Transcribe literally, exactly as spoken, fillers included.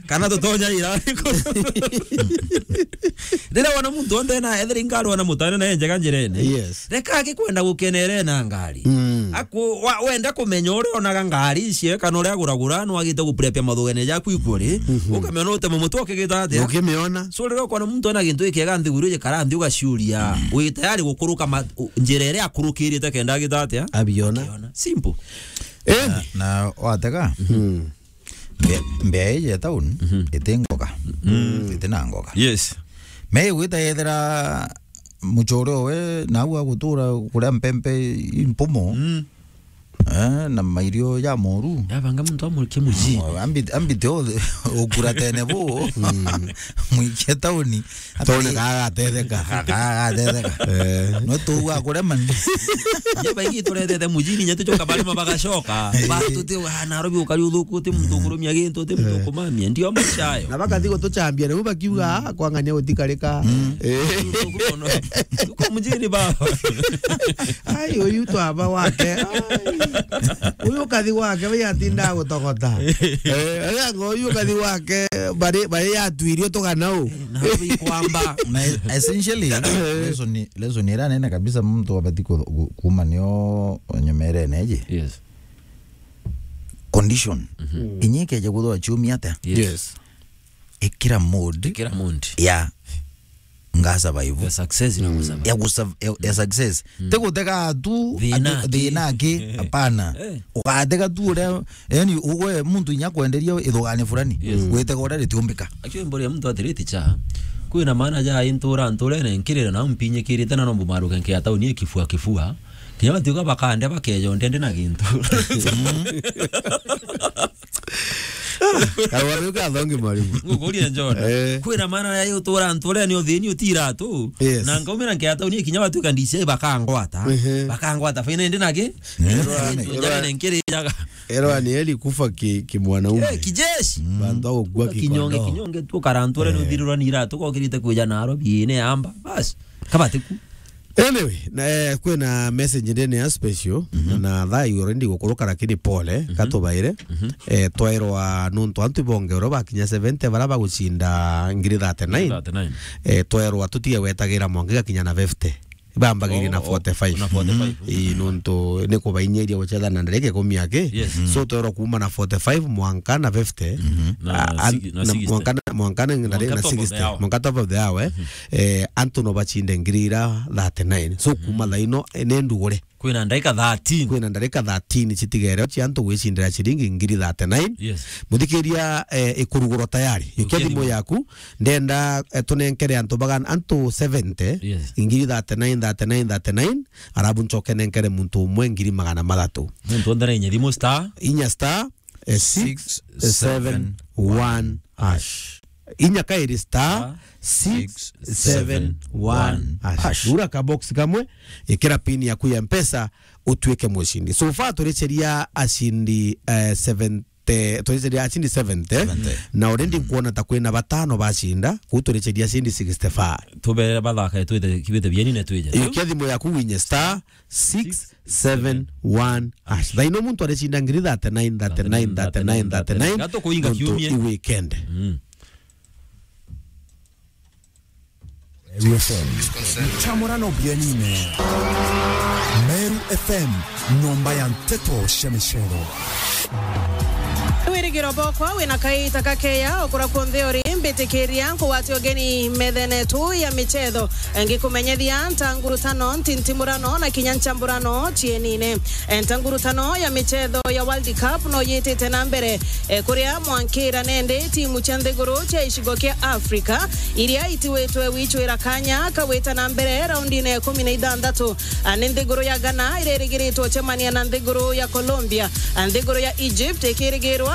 Kana tutonya ira. Riria wona muntu onthe na ethira ingari wona mutane na enjega njirene. Yes. Reka akikwenda gukenere na ngari. Mm. Aku-, wa-, wenda kumenya uria onaga ngari icio kana uria aguragura, nwagite guprepia mathugene jaku ikuri. Mhm. Ukamenya utemo mutu ukigita atia. Ukimiona. So riria ukona muntu ena gintu gikiega nthiguru igikara nthi ugaciuria. Mm. Wi tayari gukuruka ma-, u-, njira iria akurukirite kenda agita atia. Abiona. Akiona. Simple. Eh. Na, na watega? Mm. Mbea, mbea iji ya town, mhm, iti ngoga. Mm. Iti na ngoga. Yes. Me igwita yethira muchore owe, nau agutura kuria mpempe impumo. Mm. Eh, na mairio ja moru. Yabanga muntu amurikie mujini. Ambi-, ambite o-, ukura tene bu. Mm. Mwikie tauni. Tone kaga ateteka. Kaga ateteka. Eh. No tu wa kurema ni. Nye baingi turethete mujini, nye tucoka barima bagacoka. Eh. Ba tuti wa Nairobi ukari uthuku, uti muntu, eh, ukurumia gintu, uti muntu, eh, ukumamia. Ndio maisha ayo. Na bakathi gutuchambia, na bakiuga, "Ah, kwang'ania gutikarika." Mm. Eh. Tuko mujini baba. Ai, uyu twaba wake. Ai. Uyu kathi wake, we atinda gutogota. Eh, aya ngo uyu kathi wake, bari, bari yatuirio tugana u. Na ikwamba. Na essentially, lesson, lesson ira nene kabisa muntu abati ku-, ku-, kuma nio nyomerene iji. Yes. Condition. Mhm. Inye ikeja kuthwa ciumia atia? Yes. Yes. Ikira mood. Ikira mood. Ya. Nga survive. Ya success na kusurvive. Ya kusurv-, ya, ya success. Mm. Ti gutega tu, thina ati, ki, thina ki, hapana. Eh. Ugatega tu uria, yani, ugwe muntu inya kwenderia ithugani fulani. Yes. Gwitega uria ritiumbika. Actually, mbori ya muntu atiriti cha. Kwina maana ja intura nturene nkirira na mpinyikirite na no mbumaruke nkia tauni ikifua kifua. Kinya batiuga bakande bakeja ndende na gintu. Arwaru ka thongi mwalimu. Ngukuria John. Eh. Kwina maana ya utura nturene uthini utira tu. Yes. Na ngaumira nkia tauni kinya batuika D C I bakangwata. Ehe. Bakangwata. Faina ndi naki? Erwa ni, erwa, njane nkiriraga. Erwa ni eli kufa ki, ki mwanaume. Eh, kijeshi. Bantu agukua ki kinyonge, kondoo. Kinyonge tu karanture ni uthirirwa ni iratu kokirite kuja na aro biine amba. Bas. Kabatiku. Anyway, na, eh, kwina message ndene ya special, mhm, na thaa already gukuruka, lakini pole, mhm, katubaire. Mhm. Eh, twairwa nuntu antu ibonge uria bakinya seventy, bara bagucinda ngiri thirty-nine. Thirty-nine. Eh, twairwa tutige gwetagira mwanka igakinya na fifty. Bambagirie na, oh, oh, forty-five. Na forty-five. Mhm. Ii, nuntu ni kubainyiria gucetha na ndareke ikumi aki. Yes. Mhm. So, twairwa kuma na forty-five mwanka na fifty. Mhm. Na, ah, an-, sixty, na na sixty. Mwanka na, mwanka na ndareke na top of the sixty. Hour. Mwanka top of the hour, eh. Mhm. Eh, antu no bacinde ngiri ira thirty-nine. So, kuma, mhm, thaa ino, eh, ni ndugure. Kwina ndarika thirteen. Kwina ndarika thirteen citigere cia antu gwicindira ciringi ngiri thirty-nine. Yes. Muthikiria, eh, ikurugurwa tayari. Yukia thimu yaku. Ndenda, eh, tunenkere antu bagana, antu seventy, yes, ngiri thirty-nine, thirty-nine, thirty-nine, arabu ncoke nenkere muntu umwe ngiri magana mathatu. Muntu onthe na inya thimu star. Inya star, eh, six seven one hash. Inya kairi star six seven one hash. Hash. Ura ka box kamwe, ikira pin yaku ya Mpesa, utuike mucindi. So far, turiceria acindi, eh, seven, te-, turiceria acindi seventy, seventy. Na already nkuona ta kwina batano bacinda, kuu turiceria acindi sixty-five. Tubere bathaka, twite, kibite bieni na twije. Yukia thimu yaku winye star six seven one hash. Thaa ino muntu aricinda ngiri thirty-nine, thirty-nine, thirty-nine, thirty-nine. Gato kuinga nontu kiumie. I weekend. Mm. Meru F M. Chamurano bienine. Meru F M, nyomba ya nteto cia micero. Wirigiro bokwa wina kaita kakeya ukura kunthe uri, mbitikiria nkugwate ugeni methene tu ya michetho, ngikumenyethia ntangurutano, ntintimurano na kinya nchamburano cienine. Ntangurutano ya michetho ya World Cup no yitite na mbere, eh, kuria mwankira nende timu cia nthiguru cia icigo kia Africa iria itiwitwe wicwira kanya kawita na mbere raundine ya ikumi na ithanthatu. Ah, ni nthiguru ya Ghana iririgiritwe ucemania na nthiguru ya Colombia. Ah, nthiguru ya Egypt ikirigirwa